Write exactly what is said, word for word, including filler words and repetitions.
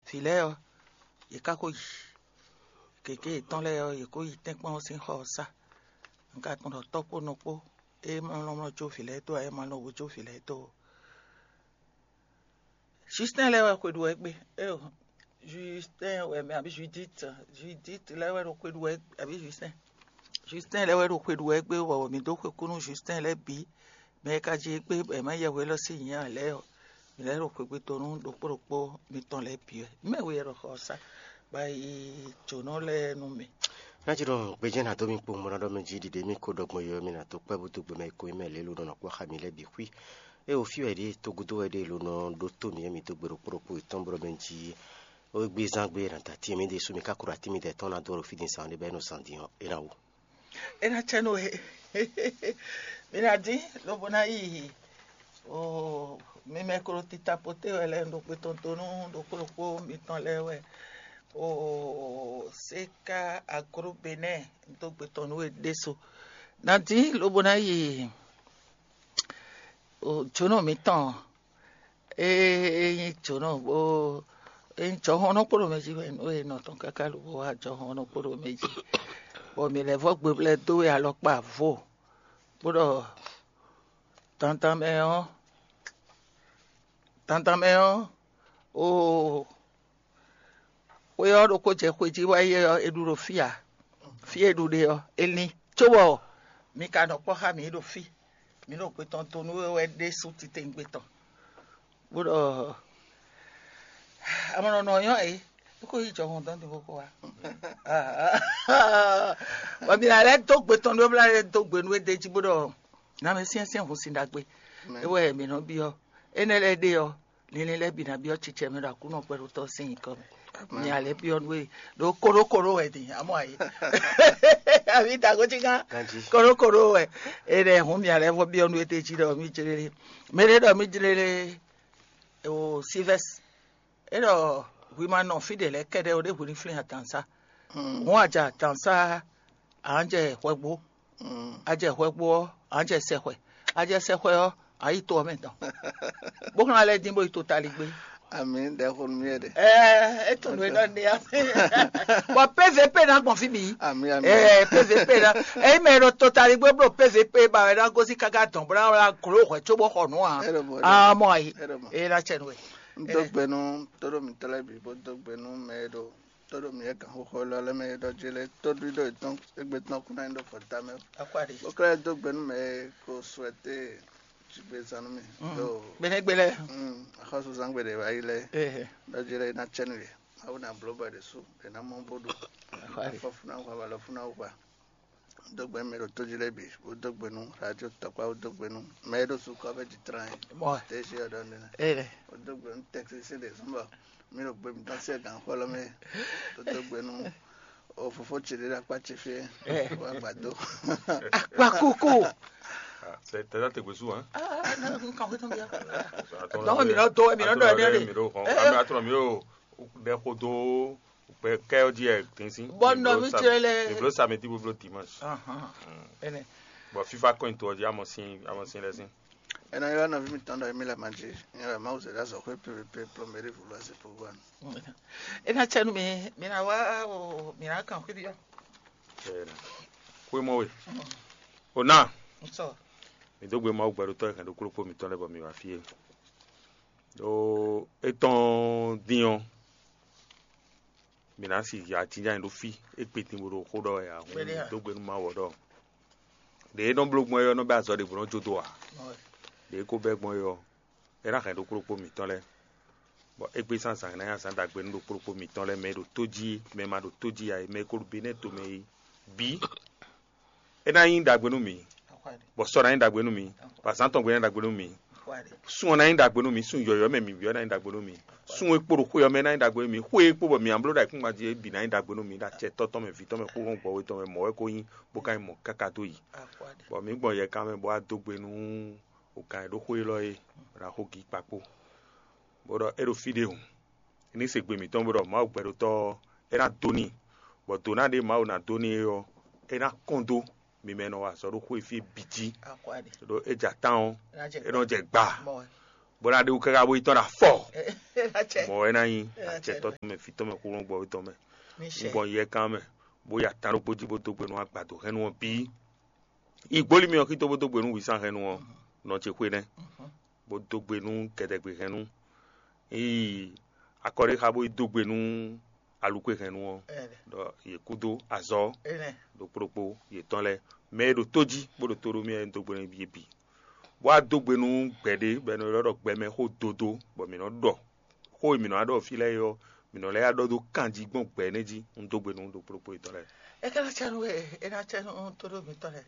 Vǐ lɛ́ɛ ɔ́, yě ká ko yi gěgé yětɔn lɛ́ɛ ɔ́, yě ko yi tɛ́nkpɔ́n ɔ́ sín xɔ ɔ́ sá. Un ka tunwun ɖɔ tɔ́ kpó nɔ kpó, é mlɔ́mlɔ́ jó vǐ lɛ́ɛ dó ǎ, é ma lɔn wǔ jó vǐ lɛ́ɛ dó ó. Justin lɛ́ɛ wɛ xwe ɖu wɛ gbé. Éyo, Justin wɛ mɛ abǐ Judith, Judith lɛ́ɛ wɛ ɖo xwe ɖu wɛ abǐ Justin. Justin lɛ́ɛ wɛ ɖo xwe ɖu wɛ gbé, bɔ mǐ dó xwe kú nú Justin lɛ́ɛ bǐ. Mɛ e ka jí gbé bɔ è mǎ yɛhwe élɔ́ sín nyǐ ǎ lɛ́ɛ ɔ́, mǐ lɛ́ ɖo xwegbe tɔn nú ɖokpó ɖokpó mitɔn lɛ́ɛ bǐ wɛ. Mɛ we wɛ ɖo xɔ ɔ́ sá, bɔ yi jǒnɔ lɛ́ɛ nú mì. Ná jí ɖɔ gbɛjɛ́ ná dó mì kpowun bó ná ɖɔ mɛ jí ɖiɖe mì ko ɖɔ gbɔn yɔ mì ná dó kpɛ́ búdú gbɛmɛ e ko nyí mɛ lě ló nɔ kpɔ́ xá mi lɛ́ɛ bǐ xwí. É o fí wɛ ɖíe, tógúdó wɛ ɖíe ló nɔ ɖótó mǐ e mǐ dó gbe ɖokpó ɖokpó yětɔn bó ɖɔ mɛ jí. Ó gbé zán gbé è nǎ da atín mǐ ɖésú, mǐ ka ko ɖo atín mǐdɛɛ tɔn ná dó ɖo fí din sa ɔ́, ɖé bɔ é nɔ zan din ɔ́, é ná wú. É ná cɛ nú we. Mi ná dín lobo ná yi o mi mɛ klo tita poté wɛ lɛ́ɛ ɖo xwe tɔn dó nú ɖokpó ɖokpó mitɔn lɛ́ɛ wɛ. O séka agro benɛ́ dó gbe tɔn nú we ɖésú. Ná dín lobo ná yi o jǒnɔ mitɔn. Ée é nyí jǒnɔ bó é nyí jɔhɔn nɔ kpo ɖo mɛ jí wɛ nú e nɔ tɔn káká lobo wá jɔhɔn nɔ kpo ɖo mɛ jí, bɔ mǐ lɛ́ vɔ́ gbeblɛ́ dó we alɔkpa vo, bó ɖɔ dandan mɛ ɔ́, dandan mɛ ɔ́, oo, xwe ɔ́ ɖokpó jɛ xwe jí wá yi ɔ́, è ɖu ɖo fí ǎ. Fí e ɖu ɖe ɔ́, è lin, cóbɔ mi ka nɔ kpɔ́ xá mǐ ɖo fí. Mǐ ɖo gbe tɔn dó nú we wɛ ɖésú titewungbe tɔn, bó ɖɔ amɔ̌ nɔ nyɔ́ é, é ko yi jɔhɔn dɔn din bó ko wá. Bɔ mǐ ná lɛ́ dó gbe tɔn nú we, bó ná lɛ́ dó gbe nú we d'é jí bó ɖɔ nǎ mɛ syɛ́nsyɛ́n hun sin ɖagbe. É wɛ mǐ nɔ byɔ́. Énɛ́ lɛ́ɛ ɖe ɔ́, linlin lɛ́ɛ bǐ ná byɔ́ cicɛ mɛ ɖo Aklúnɔ kpɛɖotɔ́ sín nyǐkɔ mɛ. Nya lɛ́ɛ byɔ́ nú we ɖo kóɖókóɖó wɛ din, amɔ ayé. Avi dago cí gán. Kóɖókóɖó wɛ. Énɛ́ hǔn mia lɛ́ɛ vɔ byɔ́ nú we d'é jí ɖɔ mí jlélé. Mɛ ɖé ɖɔ mí jlélé o Silvɛ́s. É ɖɔ hwi ma nɔ fí ɖě lɛ́ɛ kɛ́ɖɛ́ ó, ɖěbǔ ní flín adǎnsá. Hǔn a jɛ adǎnsá, a nǎ jɛ hwɛgbo. A jɛ hwɛgbo ɔ́, a nǎ jɛ sɛxwɛ. A jɛ sɛxwɛ ɔ́, a yi to ɔ́ mɛ tɔn. Bó xlán lɛ́ɛ dín bó yi to taligbé. Ami ɖɛxonu mì ɖe. Ɛɛ, é tunnu é ɖɔ ní ami. Bɔ P V P ná gbɔn fí bǐ. Ami ami. Ɛɛ, P V P ná. Eyi mɛ ɖo to taligbé blo P V P ba wɛ ná gosín káká dɔn bó ná wá gló hwɛ có bó xɔ nǔ ǎ. Amɔ ayi. É ná cɛ nú we. Un dó gbe nú tóɖó mǐtɔn lɛ́ɛ bǐ, bó dó gbe nú mɛ e ɖo tóɖó mǐ e gǎnxóxó élɔ́ lɛ́ɛ mɛ e ɖɔ jí lɛ́ɛ, tóɖíɖó yětɔn égbé tɔn kún ná nyí ɖo xɔ tamɛ. Bó ka lɛ́ dó gbe nú mɛ e ko suɛté jigbezán nú mì ɖo gbɛnɛgbɛ lɛ́ɛ. Axɔ́súzán gbe ɖě wá yi lɛ́ɛ, ɖɔ jí lɛ́ɛ é ná cɛ nú yě. Mawu ná bló bɔ è ɖě sú, è nǎ mɔ bó ɖu. Afɔfúnáhwa, walɔfúnáhwa. Dó gbe nú mɛ e ɖo tó jí lɛ́ɛ bǐ, bó dó gbe nú radio tɔkpá, bó dó gbe nú mɛ e ɖo sukɔ ɔ́ mɛ jí tlán é. Mɔ Tɛ́ jí ɔ́ ɖɔ nɛ́. Bó dó gbe nú tɛksísí ɖě zɔ́n bɔ mí ɖo gbe mǐtɔn sín gǎnxɔ lɔ mɛ, bó dó gbe nú o fofó ce ɖé ɖo akpá ce fí é, wá gbadó. Akpa kókó. Tɛ́ te gbésù hàn. Dɔn mi nɔ dɔ mi nɔ dɔ mi nɔ. Atɔnɔ mi o ɖɛ xo dó. Kpɛ kɛ ɔ́ jí ɛ dín sín. Bɔ nɔ mi tlɛ lɛ. Mi blo samedi, bo blo dimanche. Ɛnɛ. Bɔ fifa kɔn to ɔ́ jí amɔ sín amɔ sín lɛ sín. Ena yɔ nɔvi mi tɔn ɖɔ emi lɛ ma jí. Nyɛ wɛ Mawu zɛ ɖe azɔ xwé pépépé plɔmɛri vulu asi pogo anu. Ena tsɛnu mi mi na wa o mi na kan xwé bi yɔ. Xwé mɔ we. O na. Nsɔ. Mi dó gbe Mawu gbɛɖotɔ́ e hɛn ɖo kúlókpó mitɔn lɛ́ɛ bɔ mi wá fí é. Ɖó étɔn dín ɔ́, mǐ ná si ya jínjɔ́n ɖó fí. É kpétin bó ɖo xó ɖɔ wɛ ǎ, hǔn mǐ dó gbe nú Mawu ɔ́ ɖɔ ɖě e nɔ bló gbɔn é ɔ́ nɔ bɛ́ azɔ̌ ɖěvo nɔ jó dó ǎ. Ɖě e ko bɛ́ gbɔn é ɔ́, é ná hɛn ɖokpó ɖokpó mǐtɔn lɛ́ɛ, bɔ égbé sín azǎn ná nyí azǎn ɖagbe nú ɖokpó ɖokpó mǐtɔn lɛ́ɛ, mɛ e ɖo tó jí, mɛ e ma ɖo tó jí ǎ é, mɛ e ko ɖo Benɛ́ɛ tomɛ é bǐ. É ná nyí ɖagbe nú mǐ, bɔ sɔ ná nyí ɖagbe nú mǐ, bɔ azǎn tɔn gbe ná nyí ɖagbe nú mǐ. Sun ɔ́ ná nyí ɖagbe nú mǐ, sun yɔ̌yɔ́ mɛ mǐ byɔ́ ná nyí ɖagbe nú mǐ. Sun e kpo ɖo xwe ɔ́ mɛ ná nyí ɖagbe nú mǐ, xwe e kpo bɔ mǐ nǎ bló ɖo ayǐkúngban jí é bǐ ná nyí ɖagbe nú mǐ, ɖo acɛ tɔ́ tɔn mɛ, vǐ tɔn mɛ, xóxó gbɔ̌ we tɔn mɛ, mɔ̌ wɛ ko nyí, bó ka nyí mɔ̌ káká dó yi. Bɔ mǐ gbɔn yɛ kan mɛ bó wá dó gbe nú wǒkan e ɖó xó élɔ́ é, bó ná xo gǐ kpakpó, bó ɖɔ é ɖo fí ɖé hǔn, é ní se gbe mǐtɔn bó ɖɔ Mawu gbɛɖotɔ́ ɔ́, é ná dó n'i, bɔ dǒ ná ɖe Mawu ná dó n'i é ɔ́, é ná kɔn dó mi mɛ e nɔ wa azɔ̌ ɖó xwé fí bǐ jí. Ɖó é jɛ atán ɔ́, é nɔ jɛ gba. Bó ná ɖe wú káká bó yi tɔ́n ɖo afɔ. Mɔ̌ wɛ ná nyí acɛtɔ́ tɔn mɛ, vǐ tɔn mɛ, xúlɔ́ngbɔví tɔn mɛ. Un gbɔn yɛkan mɛ, bó yi atán ɖokpó jí bó dó gbe nú agbadǒhɛnnú ɔ́ bǐ. Yi gbólí mì ɔ́ xító bó dó gbe nú wǐsánhɛnnú ɔ́, nɔ ce xwe nɛ́, bó dó gbe nú gɛdɛgbehɛnnú. Yi akɔɖéxa bó yi dó gbe nú alukwe hɛn nu ɔ́, ɖɔ yě kúdó azɔ̌ ɖokpó ɖokpó yětɔn lɛ́ɛ, mɛ e ɖo tó jí bó ɖo tó ɖó mì wɛ dó gbe nú yě bǐ. Bó wá dó gbe nú gbɛ̌ ɖé bɔ è nɔ ylɔ́ ɖɔ gbɛmɛ xó dodo, bɔ mǐ nɔ ɖɔ xó e mǐ nɔ wá ɖɔ fí lɛ́ɛ é ɔ́, mǐ nɔ lɛ́ wá ɖɔ dó kanjí gbɔn gbɛ̌ énɛ́ jí. Un dó gbe nú ɖokpó ɖokpó yětɔn lɛ́ɛ. É ka ná cá nú we, é ná cá nú tó ɖó mǐtɔn lɛ́ɛ.